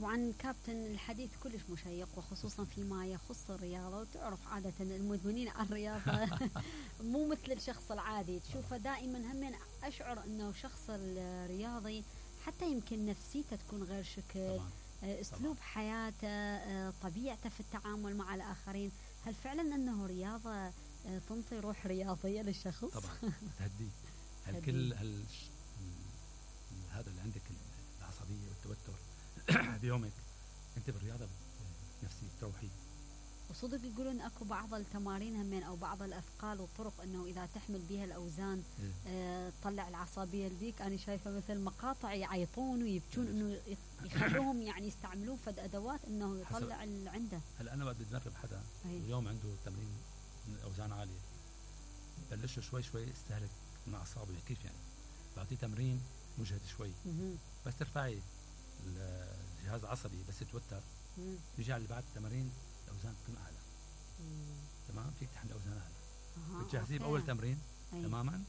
طبعا كابتن الحديث كلش مشيق وخصوصا فيما يخص الرياضة، وتعرف عادة المدمنين على الرياضة مو مثل الشخص العادي تشوفه دائما. هم أشعر أنه شخص الرياضي حتى يمكن نفسيته تكون غير شكل، أسلوب حياته، طبيعته في التعامل مع الآخرين. هل فعلا أنه رياضة تنطي روح رياضية للشخص؟ طبعا تهدي كل هذا اللي عندك العصبية والتوتر بيومك، انت بالرياضة نفسي تروحي. وصدق يقولون اكو بعض التمارين همين او بعض الاثقال والطرق انه اذا تحمل بها الاوزان تطلع العصبيه البيك. انا شايفه مثل مقاطع يعيطون ويبكون انه يخلوهم يعني يستعملون فد ادوات انه يطلع اللي عنده. هلا انا بدي ادرب حدا اليوم عنده تمرين من اوزان عاليه، بلشه شوي شوي استهلك من اعصابه. كيف يعني؟ بعطيه تمرين مجهد شوي بس ترفعي الجهاز العصبي بس يتوتر، بيجي على اللي بعد التمارين الاوزان تكون اعلى. تمام، فيك تحمل اوزان اعلى. بتجهزيه باول تمرين تماما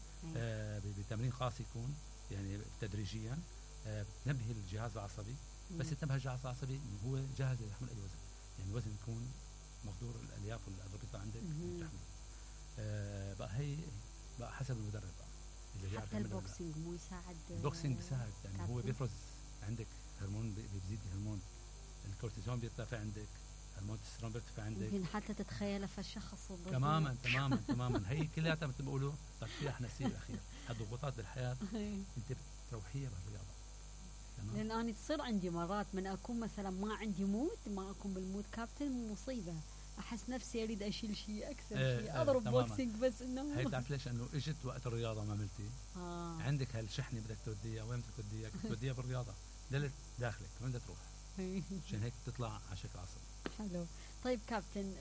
بتمرين خاص يكون يعني تدريجيا بتنبهي الجهاز العصبي. بس ينتبه الجهاز العصبي انه هو جاهز ليحمل اي وزن، يعني الوزن يكون مقدور الالياف والاربطه عندك تحمل. بقى هي بقى حسب المدرب بقى اللي حتى البوكسينج مو يساعد؟ البوكسينج بيساعد، يعني هو بيفرز عندك هرمون، بيزيد هرمون الكورتيزون بيرتفع عندك، هرمون التستيرون بيرتفع عندك. يمكن حتى تتخيل في الشخص تماما تماما تماما. هي كلها مثل ما بيقولوا تصفيح نفسي الاخير. هالضغوطات بالحياه انت بتروحيها بالرياضه. تمام، لان انا تصير عندي مرات من اكون مثلا ما عندي مود، ما اكون بالمود كابتن، مصيبه احس نفسي اريد اشيل شيء اكسر شيء اضرب بوكسينج. بس انه هي بتعرف ليش؟ انه اجت وقت الرياضه ما عملتي عندك هالشحنه بدك توديها وين بدك توديها؟ توديها بالرياضه دلت داخلك وين بدها تروح؟ عشان هيك تطلع على شكل عصبي. حلو. طيب كابتن،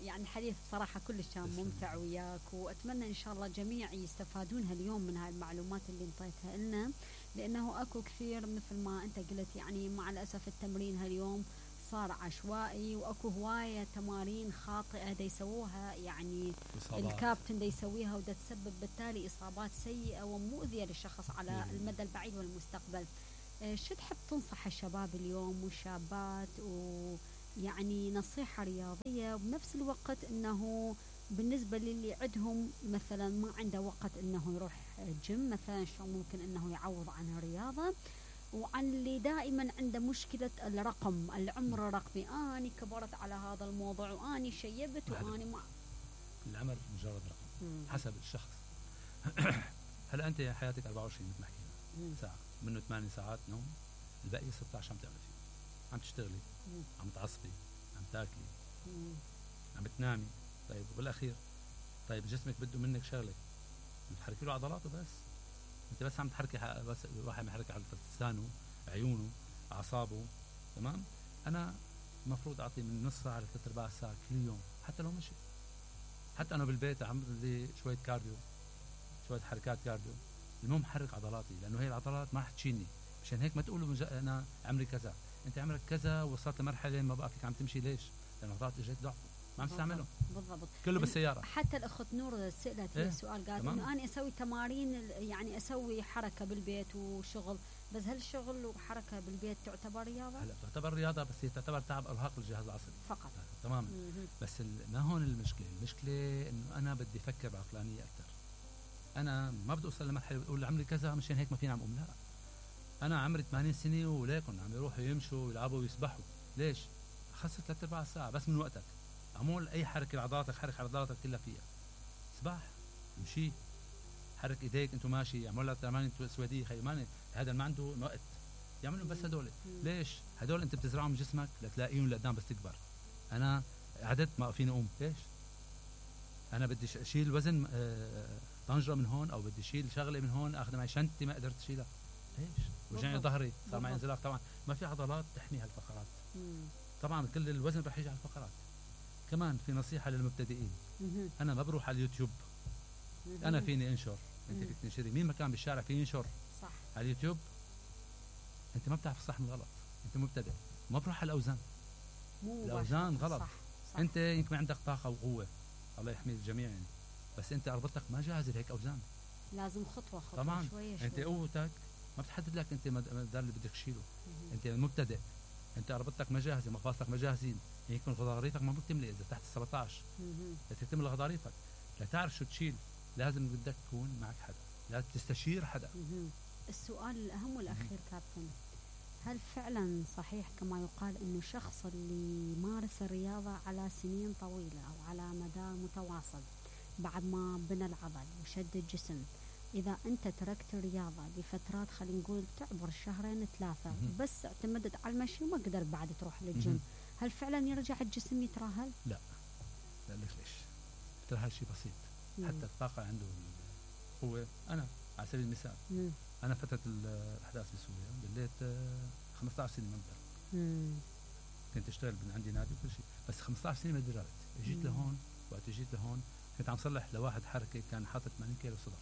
يعني الحديث بصراحه كلش كان ممتع وياك، واتمنى ان شاء الله الجميع يستفادون هاليوم من هاي المعلومات اللي انطيتها لنا، لانه اكو كثير مثل ما انت قلت يعني مع الاسف التمرين هاليوم صار عشوائي، واكو هوايه تمارين خاطئه دا يسووها يعني إصابات. الكابتن دا يسويها ودا تسبب بالتالي اصابات سيئه ومؤذيه للشخص على المدى البعيد والمستقبل. شو تحب تنصح الشباب اليوم والشابات، ويعني نصيحه رياضيه وبنفس الوقت انه بالنسبه للي عندهم مثلا ما عنده وقت انه يروح جيم مثلا، شو ممكن انه يعوض عن الرياضه، وعن اللي دائما عنده مشكلة الرقم، العمر رقمي، أنا كبرت على هذا الموضوع وأني شيبت وأني ما. العمر مجرد رقم حسب الشخص. هلا أنت حياتك 24 مثل ما حكينا ساعة، منه 8 ساعات نوم، الباقي 16 عم تعمل فيه، عم تشتغلي، عم تعصبي، عم تاكلي، عم بتنامي. طيب وبالأخير طيب جسمك بده منك شغلة، تحركي له عضلاته بس. انت بس عم تحركي، بس الواحد يحرك على لسانه، عيونه، اعصابه. تمام، انا المفروض اعطي من نص ساعه لثلاث ارباع ساعه كل يوم، حتى لو مشي، حتى انا بالبيت اعمل لي شويه كارديو، شويه حركات كارديو. المهم حرك عضلاتي، لانه هي العضلات ما رح تشيلني. مشان هيك ما تقولوا انا عمري كذا، انت عمرك كذا وصلت لمرحله ما بقى فيك عم تمشي. ليش؟ لان العضلات اجت ضعف، ما عم تستعمله. بالضبط، كله بالسياره. حتى الاخت نور سالت لي السؤال، قالت انه انا اسوي تمارين، يعني اسوي حركه بالبيت وشغل، بس هل الشغل وحركه بالبيت تعتبر رياضه؟ هلا تعتبر رياضه، بس هي تعتبر تعب ارهاق للجهاز العصبي فقط. تماما. بس ما هون المشكله انه انا بدي افكر بعقلانيه اكثر. انا ما بدي اوصل لمرحله اقول عمري كذا مشان هيك ما فيني عم اقوم. لا، انا عمري 80 سنه وليكن عم يروحوا يمشوا ويلعبوا ويسبحوا. ليش؟ خصص 3 4 ساعه بس من وقتك، اعمل اي حركه لعضلاتك، حرك عضلاتك كلها فيها، سباح، امشي، حرك ايديك انتو ماشي، اعمل لك تمارين سويديه. خيمانه هذا ما عنده وقت يعملوا بس هدول. ليش؟ هدول انت بتزرعهم جسمك لتلاقيهم لقدام بس تكبر. انا عدت ما فيني اقوم. ليش؟ انا بدي اشيل وزن طنجره من هون، او بدي اشيل شغله من هون اخذها معي شنطتي ما قدرت اشيلها. ليش؟ وجعني ظهري، صار معي انزلاق. طبعا ما في عضلات تحمي هالفقرات. طبعا كل الوزن رح يجي على الفقرات. كمان في نصيحه للمبتدئين، انا ما بروح على اليوتيوب. انا فيني انشر، انت فيك تنشري، مين مكان بالشارع فيه ينشر صح على اليوتيوب. انت ما بتعرف الصح من الغلط، انت مبتدئ، ما بروح على الاوزان. الاوزان غلط. صح. انت يمكن عندك طاقه وقوه، الله يحمي الجميع يعني، بس انت اربطتك ما جاهز لهيك اوزان. لازم خطوه طبعا شويه. انت قوتك ما بتحدد لك انت المقدار اللي بدك تشيله. انت مبتدئ، انت ربطتك ما جاهزه، مفاصلك ما جاهزين، يكون غضاريفك ما بتملي اذا تحت 17 لتتم غضاريفك. لتعرف شو تشيل لازم بدك تكون معك حدا، لازم تستشير حدا. السؤال الأهم والأخير كابتن، هل فعلا صحيح كما يقال أنه الشخص اللي يمارس الرياضة على سنين طويلة أو على مدى متواصل بعد ما بنى العضل وشد الجسم، إذا أنت تركت الرياضة لفترات خلينا نقول تعبر شهرين 3 بس اعتمدت على المشي وما قدر بعد تروح للجيم، هل فعلا يرجع الجسم يترهل؟ لا لك ليش؟ الترهل شيء بسيط. حتى الطاقة عنده هو. أنا على سبيل المثال أنا فترة الأحداث بسوريا بليت 15 سنة ما بدرب. كنت أشتغل من عندي نادي وكل شيء، بس 15 سنة ما دربت. جيت لهون، وقت جيت لهون كنت عم صلح لواحد حركة كان حاطط 80 كيلو صدر.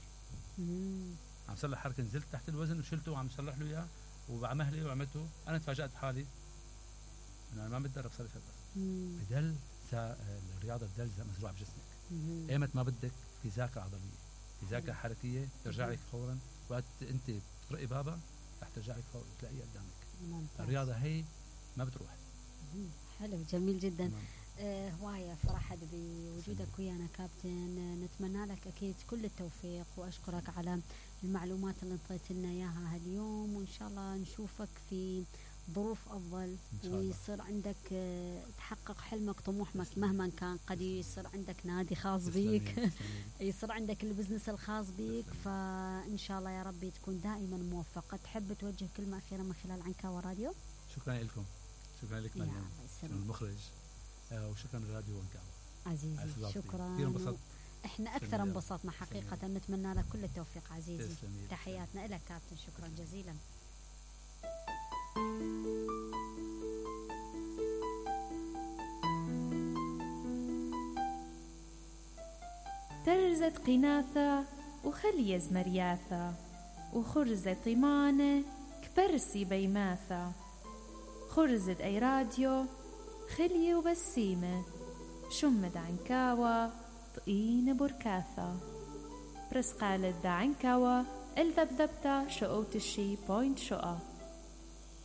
عم صلح حركة، نزلت تحت الوزن وشلته وعم صلح له إياه وبعمهلي وعملته. أنا تفاجأت بحالي إنه أنا ما بتدرب صار لي فترة. بدل الرياضة بدل مزروعة بجسمك. ايمت ما بدك في ذاكرة عضلية، في ذاكرة حركية ترجع لك فورا. وقت انت تقرأي بابا رح ترجع لك فورا تلاقيها قدامك. الرياضة هي ما بتروح. حلو، جميل جدا. هواية فرحت بوجودك ويانا كابتن. نتمنى لك أكيد كل التوفيق، وأشكرك على المعلومات اللي انطيت لنا إياها هاليوم، وإن شاء الله نشوفك في ظروف أفضل ويصير عندك تحقق حلمك طموحك مهما كان. قد يصير عندك نادي خاص بيك يصير عندك البزنس الخاص بيك. فإن شاء الله يا ربي تكون دائما موفق. تحب توجه كلمة أخيرة من خلال عنكاوى راديو؟ شكرا لكم، شكرا لك مريم، شكرا المخرج، وشكرا لراديو عنكاوى عزيزي. شكرا، كثير انبسطت. احنا أكثر انبسطنا حقيقة. نتمنى لك كل التوفيق عزيزي. تحياتنا لك كابتن، شكرا جزيلا. ترزت قناثة وخليز مرياثة، وخرزة طمانة كبرسي بيماثة، خرزت أي راديو خلية وبسيمة، شمد عنكاوة طقين بركاثة، برسقالة دا عنكاوة الذبذبتا شقوت الشي بوينت شقا.